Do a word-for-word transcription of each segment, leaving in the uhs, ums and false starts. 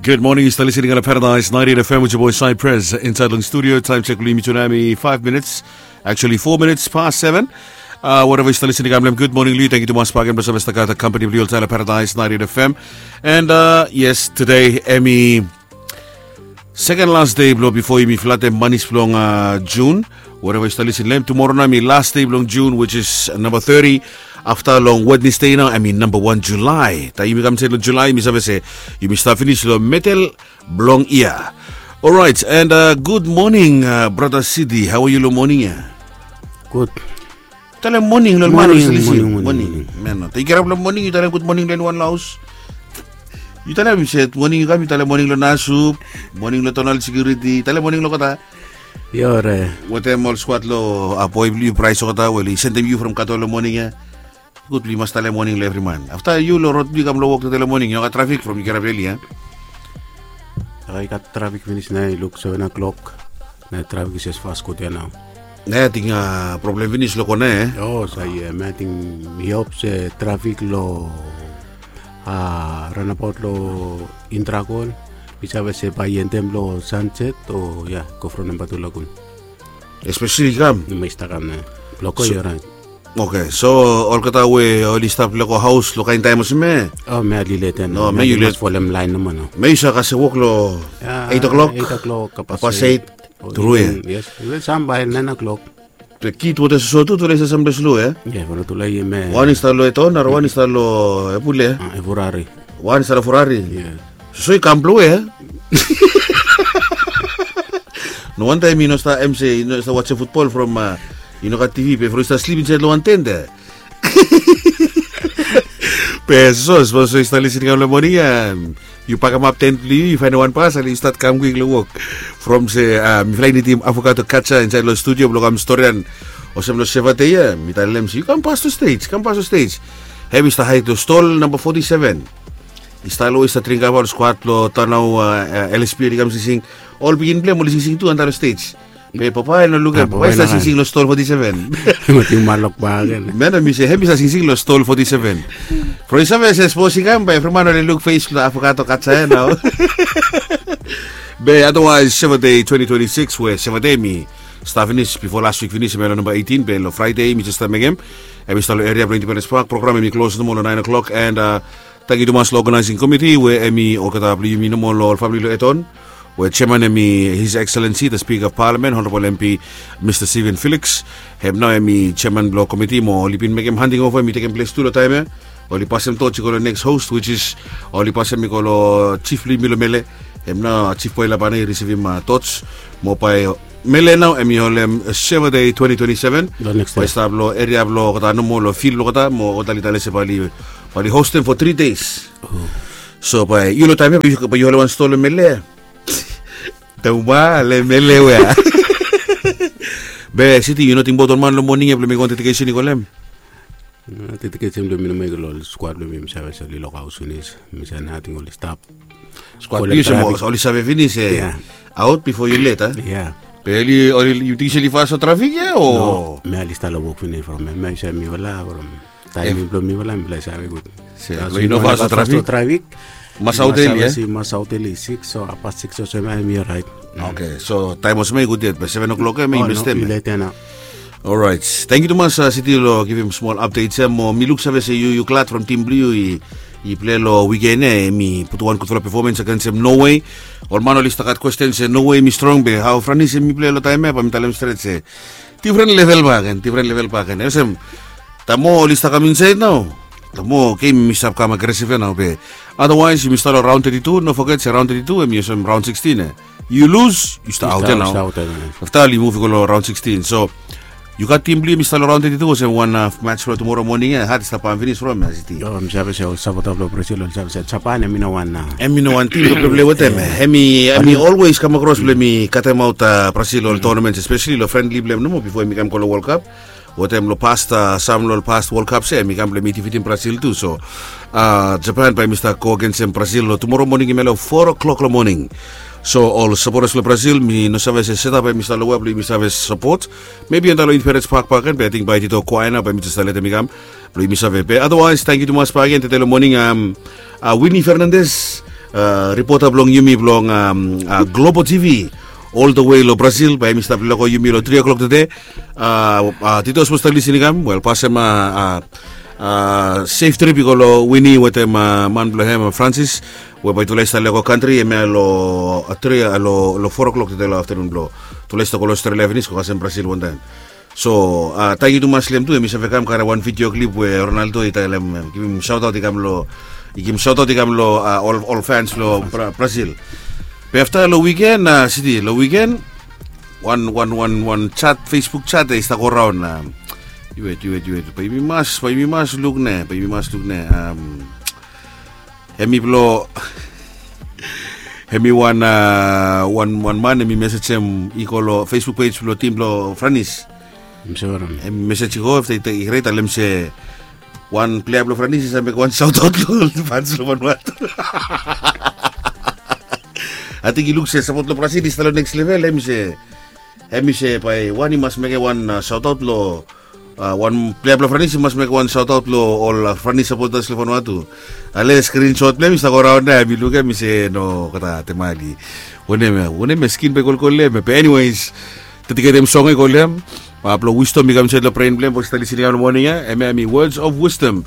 Good morning, yu stap listening long Paradise ninety-eight F M with your boy Cypress inside long studio. Time check, blong yumi tu nao hemi five minutes, actually four minutes past seven. Uh, wherever yu stap listening, I'm Lem. Good morning, Lee. Thank you tumas bakegen blong save stap gat company blong yu oltaem long Paradise ninety-eight F M. And uh, yes, today hemi second last day blong bifo yumi flatem manis blong uh, June. Whatever yu stap listening long hem, tumora nao hemi last day blong June, which is number thirty. Afta long Wednesday nao hemi number one July. Taem yumi kam insaed long July, yumi save se yumi stap finis long medel blong yia. Alright, and uh, good morning, uh, brother Sidi. How are you long moning ya? Good. Talem moning long man. Moning, Sidi, Sidi. moning, moning, Moning. Man, taem yu kirap long moning, yu talem good morning long wan long haos. Yu talem, yu se moning yu kam, yu talem moning long Nasup, moning long Tonal Security, talem moning long olgeta. Yore. Wetem ol skwad long a boe blong yu, Brais olgeta, we oli sendem yu from Kato long moning ya. Gud blong yu mas talem moning long evri man. Afta yu long rod blong yu kam long wok tede long moning, yu no gat trafik from yu kirap eali ya. I gat trafik finis nao, i luk seven o'clock. Nao trafik i jes fas gud ya nao. Nao ating problem finis long kona ya. O, so yeah, mi ating i hop se trafik long a, runabout long Indragon. Mi save se bae i endem long Sunset o ya, go from namba tu lagun. Especially kam. Mi stap kam nao. Bloko, yu orait. Oke, so olgeta we oli stap lego haos long kaen taem olsem ya. O, mi a lilet ya No, nao. mi yu let. Folem laen nomo nao. Mi yu sa kasem wok long eight o'clock. Eight o'clock, Pas eight. Tru ya. Yes, even sam bae nine o'clock. Be kid wetem soso tu, tufala i stap samting slow ya. Ya, from tufala i me. Wan i stap long Eton, nara wan i stap long Epule. A, Ferrari. Wan i stap long Ferrari. Ya. So i kam blong we ya. No wantaem i no stap, em se i no stap wajem futbol from a, i no gat T V, be from i stap slip insaed long wan tent ya. Be so, so, so i stap listening long moning ya. Yu pakemap tent blong yu, yu faenem wan pasel, yu stat kam kwik long wok. From se a, mifala i nidim Afakato Katsa insaed long studio blong kam storian olsem long Sevate ya. Mi talem se yu kam pas long stage, kam pas long stage. Hem i stap haed long stol namba forty-seven. I stap long, i stap dring kava, ol skwad blong taon nao, a, L S P oli kam singsing. Ol pikinini blong hem oli singsing tu antap long stage. Be papa i no lukim. Papa i stap singsing long stol forty-seven. Mating malok bagen. Man, mi se hem i stap singsing long stol forty-seven. From i save se spos i kam, bae evri man oli luk fes blong Afakato Katsa ya nao. Be otherwise, Sevate twenty twenty-six, we Sevate mi stap finis bifo las wik finis, hem long namba eighteen, be long Fraede mi jes stap mekem. Hem i stap long eria blong Independence Park. Program hem i klos nomo long nine o'clock, and a, tangkiu tumas long organizing komiti we hem i olgeta blong yumi nomo long ol famili long Eton. We jeaman hem i His Excellency the Speaker of Parliament, Honorable M P Mister Steven Felix. Hem nao hem i jeaman blong komiti mo oli bin mekem handing ova, hem i tekem ples tu long taem ya. Oli pasem toch i go long next host, which is oli pasem i go long jif blong yumi long Mele. Hem nao Jif Boe Labana i risivim toch mo bae Mele nao hem i holem Sevate twenty twenty-seven. Bae i stap long eria blong olgeta nomo, long fil blong olgeta mo olgeta oli talem se bae oli hostem for three days. So bae yu long taem ya bae yu holem wan stol long Mele. Tama le Mele we a. Be Siti, yu no tingbaot ol man long moning ya blong mekem wan dedikesen i go long hem? Dedikesen blong mi nomo i go long ol skwad blong mi, mi save se oli long haos finis. Mi save nating oli stap. Skwad blong yu se oli save finis e. Aot bifo yu let a? Ya. Be oli, yu ting se oli fas long trafik ya o? No, mi oli stap long wok finis from ya. Mi save mifala from taem blong mifala, mifala save gud. Yu no fas long trafik. Mas aot eli ya? Mas aot eli six, so hapas six olsem ya mi orait. Oke, so taem olsem ya i gud yet, be seven o'clock ya mi mestem. Orait. Tangkiu tumas Siti long givim smol update ya mo mi luksave se yu, yu glad from tim blong yu i, i plei long wiken ya, hem i putum wan gudfala performance agensem Norway. Ol man oli stap gat kwesten se Norway hem i strong, be hao Franis hem i plei long taem ya, bae mi talem stret se difren level bakegen, difren level bakegen. Olsem, taem oli stap kam insaed nao, taem gem i stap kam agresif ya nao, be otherwise yumi stap long raon thirty-two, no foget se raon thirty-two hem i olsem raon sixteen ya. Yu lus, yu stap aot ya nao. Afta oli muv i go long raon sixteen. So yu gat tim blong yu hem i stap long raon thirty-two, olsem wan mats blong tumora moning ya, hat i stap bam finis from ya, Siti. Ol sapota blong Brazil oli save se Japan hem i no wan, hem i no wan tim blong pleplei wetem. Hem i, hem i olwes kam akros blong hem i katemaot Brazil long ol tonaments, espeseli long frendli blong hem nomo bifo hem i kam go long World Cup. Wetem long past, sam long ol past World Cups ya hem i kam blong hem i difitim Brazil tu. So Japan bae hem i stap go agensem Brazil long tumora moning, hem ya long four o'clock long moning. So ol sapotas blong Brazil, mi no save se setap ya hem i stap long wea blong yumi save sapot. Mebi antap long Independence Park bakegen, be ating bae tito kwae nao bae mi jes letem i kam blong yumi save. Be otherwise tangkiu tumas bakegen tede long moning, Winnie Fernandez, Ripota blong yumi blong Globo TV, all the way long Brazil, bae hemi stap lego yumi long tri o'clock tede. Tede yu sapos stap lisin i kam, wel, pasem safe trip i go long Wini wetem man blong hem Francis, we bae yutufala i stap lego kantri hemia long tri, long four o'clock tede long aftenun blong yutufala i stap go long Australia finis, go kasem Brazil wantaem. So tangkiu tumas long hem tu, hemi save kam karem wan video clip we Ronaldo i talem, givim shout out i kam long, i givim shout out i kam long ol fans blong Brazil. Be afta long wiken, siti long wiken, wan wan wan wan chat, Facebook chat i stap go raon. Yu wet, yu wet, yu wet, bae yumi mas, bae yumi mas luk ne, bae yumi mas luk ne. Hemi blong, hemi wan wan wan man hemi mesejem i go long Facebook page blong tim blong Franis. Hemi mesej i go afta i rait, talem se wan plea blong Franis i save mekem wan shout out long ol fans long Vanuatu. Ating i luk se sapot long Brazil i stap long next level, hemi se, hemi se bae wan i mas mekem wan shout out long wan plea blong Franis i mas mekem wan shout out long ol Franis sapotas long Vanuatu. Ale screenshot blong hem i stap go raon nao, mi lukim, mi se no, gata temali. Wanem ya, wanem ya, skin bae i kolkol long hem ya. Be anyways, dediketem song ya i go long hem. Blong wisdom i kam insaed long bren blong hem, bae yu stap lisin i kam long moning ya. Hemia hemi words of wisdom.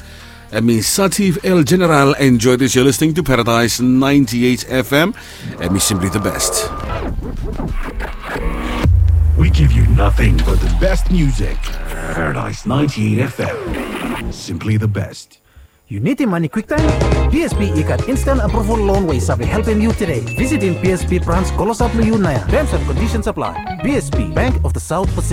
Hemi Sativ El General. Enjoy this, you're listening to Paradise ninety-eight FM. Hemi simply the best. We give you nothing but the best music. Paradise ninety-eight FM. Simply the best. Yu nidim mane kwiktaem? BSP i gat instant approval loan we i save helpem yu tede. Visitim BSP brans klosap long yu naoia. Terms and conditions apply. BSP, Bank of the South Pacific.